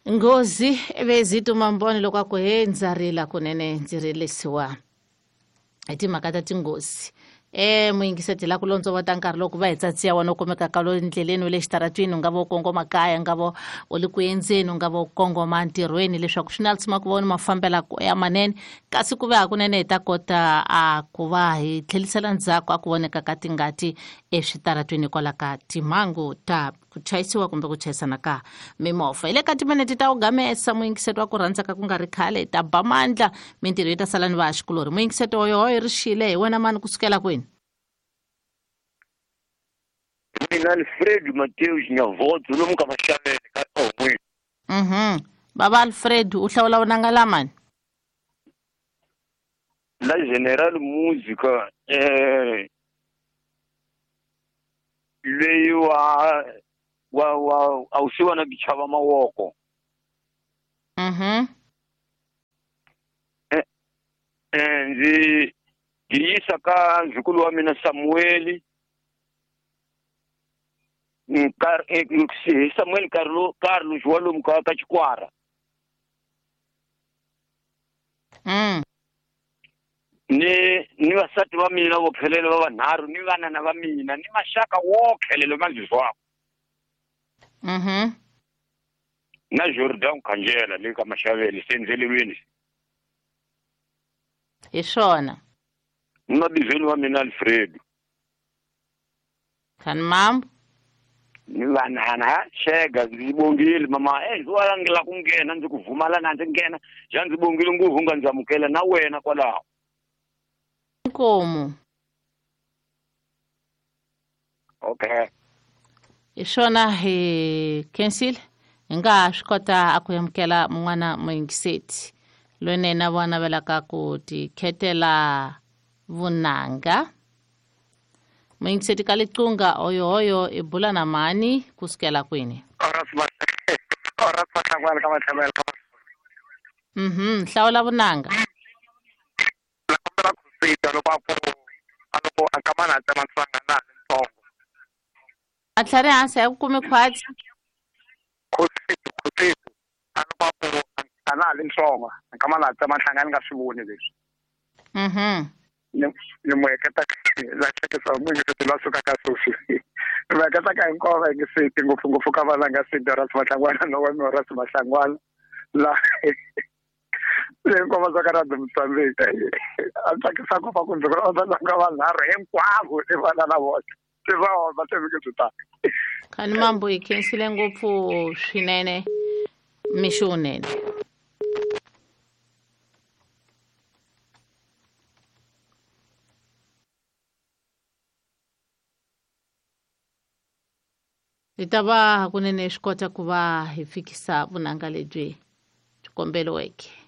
Nghozi evezito mamboni loko a ku he ndza rila kunene ndzi rilisiwa hi timhaka ta tinghozi. Muyingiseti la ku londzovota nkarhi loko va hi tsatsiya wena u kumekaka lo ndleleni wa le xitaratwini, u nga va u kongoma kaya, u nga va u le ku endzeni, u nga va u kongoma ntirhweni, leswaku swi na tshama ku va u ni mafambela ya manene, kasi ku ve hakunene hi ta kota a ku va hi tlhelisela ndzhaku a ku voneka ka tingati eswitaratwini hikwalaho ka timhangu ta ku chayisiwa kumbe ku chayisana ka mimovha. Hi le ka timinete ta ugamesa muyingiseti wa ku rhandza ka ku nga ri khale ta ba mandla mintirho yi ta sala ni vahaxikulorhi. Muyingiseti hoyohoyo ri xile hi wena mani kusukela kwini? Mina Alfred Mateus Nyavotso lomu ka Maxavele ka Ohweni. Baba Alfred u hlawula vunanga lamani? La General Musica leyi wa wa wa a wu siwana ku chava mawoko. Ndzi yisa ka nzukulu wa mina Samuel Samuel Carlos wa lomu ka Chikwara. Ni vasati va mina vo khelele va vanharhu ni vanana va mina ni maxaka wo khelele ma ndzi zwako. Na Jordan Khanjela le ka Maxavele sendzelelweni. Hi swona. Ni mabizweni wa mina Alfredo. Khani mambo. Ni vanana xega ndzi bongile mama ndzi wa la ku nghena ndzi ku vumala na ndzi nghena ja ndzi bongile ngopfu nga ndzi amukela na wena kwalaho. Nkomu. Okay. Hi swona hi khensile hi nga ha swi kota a ku amukela mun'wana muyingiseti loyi na yena va navelaka ku tikhetela vunanga. Muyingiseti ka Liqunga oyohoyo i bula na mani kusukela kwini? Hlawula vunanga. A tlhari hansi a ku kumi khwatsi. Khositu a loko a ku a na ha li ntsongo nkama na tsema nhlanga ni nga swi voni leswi. Ni mu heketa la hleketa mu heketa la suka ka Sofi. Ni mu heketa ka hinkwavo va yingiseti ngopfungopfu ka valanga Sidoras Mahlangwana no wa Horas Mahlangwana la hinkwavo va ka Radio Mozambique. A tsakisa ku va ku ndzi ku va vanharhu hinkwavo i vana na vona. Khani mambo hi khensile ngopfu swinene mixo wunene. Hi ta va hakunene swi kota ku va hi fikisa vunanga lebyi byi komberiweke.